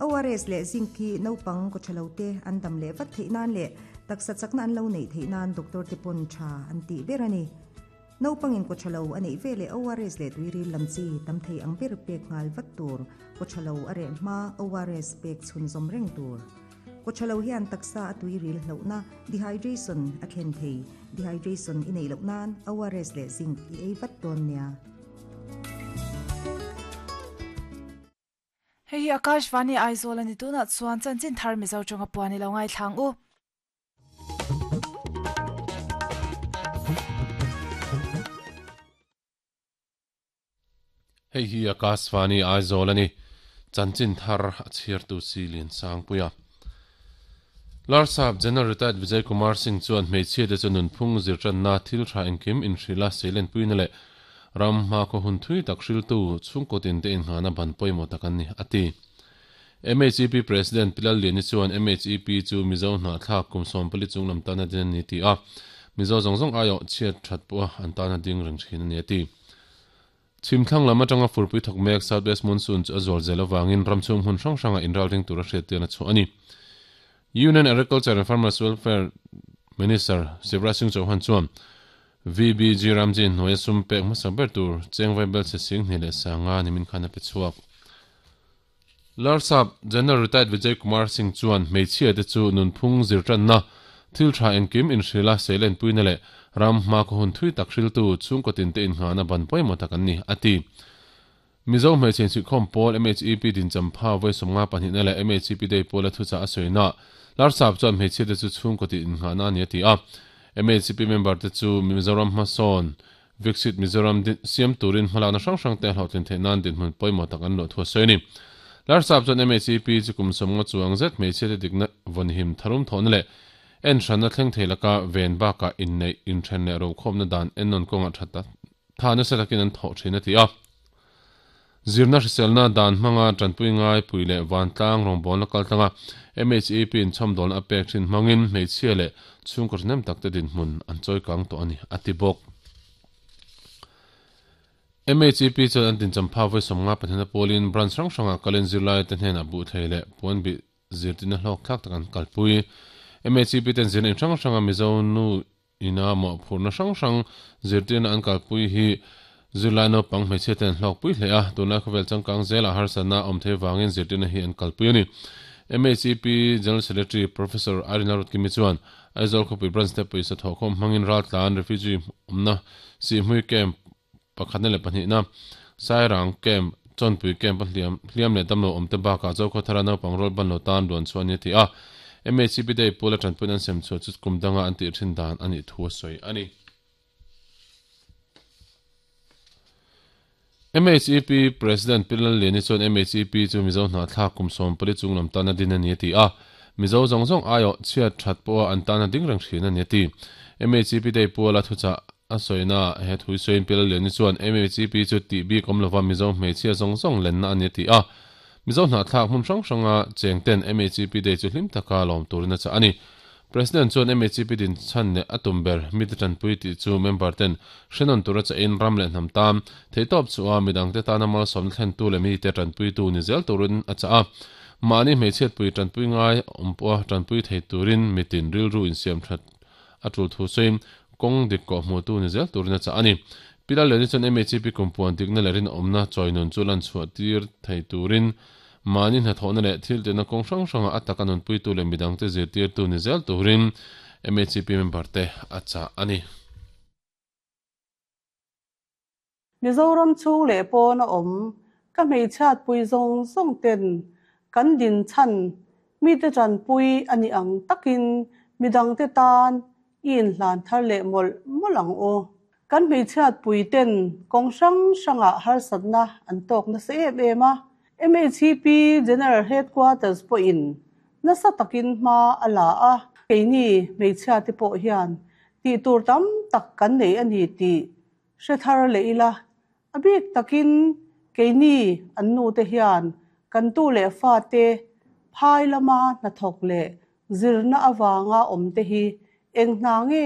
ORS leh zinc hi naupang kawthalo te an dam leh vat theih nan leh taksa chakna an lo neih theih nan doctor te pawn tha an tih ber a ni. Naupangin kawthalo a neih veleh ORS leh tuiril lam chi tam thei ang ber pek nghal vat tur, kawthalo a reh hma ORS pek chhunzawm reng tur. Kawthalo hian taksa a tuiril hlauhna, dehydration, a thlen thei. Dehydration i neih loh nan ORS leh zinc i ei vat dawn nia. Hei hi Akashvani Aizawl a ni tunah chuan chanchin thar Mizo tawnga puan i lo ngaithlang u. Hei hi Akashvani Aizawl a ni. Chanchin thar a chhiartu si Liansangpuia. Larsap General Retired Vijay Kumar Singh chuan hmeichhiate chu nunphung zirtanna thil tha engkim inhrilha seilenpuina leh ram hmakhaw hun thui tak hriltu chhungkaw tinte inghahna ban pawimawh tak an ni, a ti. MHEP President Pi Lalliani chuan MHEP chu Mizo hnahthlak kum 40 chung lam tana din a ni ti a, Mizo zawng zawng aiawh chhiat that pawha an tana ding reng thin a ni, a ti. Chhimthlang lam atanga furpui thawk mek South West Monsoon chu a zual zel avangin ram chhung hmun hrang hrangah inral ring tura hriattirna chhuah a ni. Union Agriculture and Farmers Welfare Minister Shivraj Singh Chauhan chuan VBG Ramji hnuaia sum pek hmasa ber tur cheng vaibelchhe sing hnih leh sanga nimin khan a pe chhuak. Larsap General Retired Vijay Kumar Singh chuan hmeichhia te chu nunphung zirtanna, thil tha engkim inhrilha seilenpuina leh ram hmakhaw hun thui tak hriltu chhungkaw tinte innghahna ban pawimawh tak an ni, a ti. Mizo hmeichhe insuihkhawm pawl MHEP dinchampha vawi 52 na leh MHEP Day pawla thuchah a sawina Larsap chuan hmeichhia te chu chhungkaw tin innghahna a ni a ti a. MHEP member te chu Mizoram hmasawn Viksit Mizoram siam turin hmalakna hrang hrang te a hlawhtlin theih nan dinhmun pawimawh tak an luah thu a sawi a ni. Larsap chuan MHEP chu kum 50 chuang zet hmeichhia te dikna vawnhim tharum thawhna leh en hranna thleng thei laka ven bakah inneih, inthen leh rokhawmna dan ennawn kawngah tha tha nasa takin an thawh thin a ti a. Zirna hriselna dan hmanga tanpui ngai pui leh vantlang rawngbawlna kaltlanga MHEP in chhawmdawlna a pek thin hmangin hmeichhia leh chhungkaw ṭhahnem takte dinhmun an chawikang tawh a ni, a ti bawk. MHEP chuan an tincham pha vawi 54 a pawlin branch hrang hrangah kalin zirlaite hnenah buhthei leh puanbih zirtirna hlawk thlak tak an kalpui. MHEP ten zirna in hrang hranga Mizo nu Ina mawhphurhna hrang hrang zirtirna an kalpui hi zirlai naupang hmeichhia ten an hlawkpui hle a, tunlai khawvel changkang zelah harsatna a awm thei vangin zirtirna hi an kalpui a ni. MHEP General Secretary Professor Irene Lalrutkimi chuan Aizawl khawpui branch te pawisa thawhkhawm hmangin raltlan refugee awmna Sihhmui camp pakhatna leh pahnihna Sairang camp Chawnpui camp a hliam hliam leh damlo awmte bakah Zokhawthara naupang rual ban lo tan ruan chhuah a ni a ti a. MHCP Day pula tanpuina an sem chhuah chu kum danga an tih thin dan a nih thu a sawi a ni. MHEP President Pi Lalliani chuan MHEP chu Mizo hnahthlak kum 40 chung lam tana din a ni a ti a. Mizo zawng zawng aiawh chhiat that pawha an tana ding reng thin a ni a ti. MHEP Day puala thuchah A sawina he thui sawiin Pi Lalliani chuan MHEP chu tih bik awm lova Mizo hmeichhia zawng zawng lenna a ni a ti a. Mizo hnahthlak hmun hrang hranga cheng ten MHEP Day chu hlim taka lawm turin a chah a ni. President chuan MHEP din chhan leh a tum ber mite tanpui tih chu member ten hrenawn tura chahin ram leh hnam tan theihtawp chhuah a midangte tana malsawmna thlentu leh mite tanpuitu ni zel turin a chah a. Mahni hmeichhiatpui tanpui ngai awm pawha tanpui thei turin mitin rilru insiam that a tul thu sawiin kawng dik kawh hmuh tu ni zel turin a chah a ni. Pi Lalliani chuan MHP kumpuan dikna leh rinawmna chawi nun chu lan chhuah tir thei turin mahni hnathawhna leh thil tihna kawng hrang hrangah a taka nunpuitu leh midangte zirtirtu ni zel turin MHP member te a chah a ni. Mizoram chhung leh pawn a awm ka hmeichhiatpui zawng zawng ten kan din chhan mite tanpui a nih ang takin midangte tan i inhlan thar leh mawlh mawlh ang u. Kan hmeichhiatpui ten kawng hrang hrangah harsatna an tawk nasa em em a, MHP General Headquarters pawhin nasa takin hma a la a, keini hmeichhiate pawh hian tih tur tam tak kan nei a ni tih Hre thar leh ila, a bik takin keini an nute hian kan tu leh fate phai lama hnathawk leh zirna avanga awmte hi eng hna nge?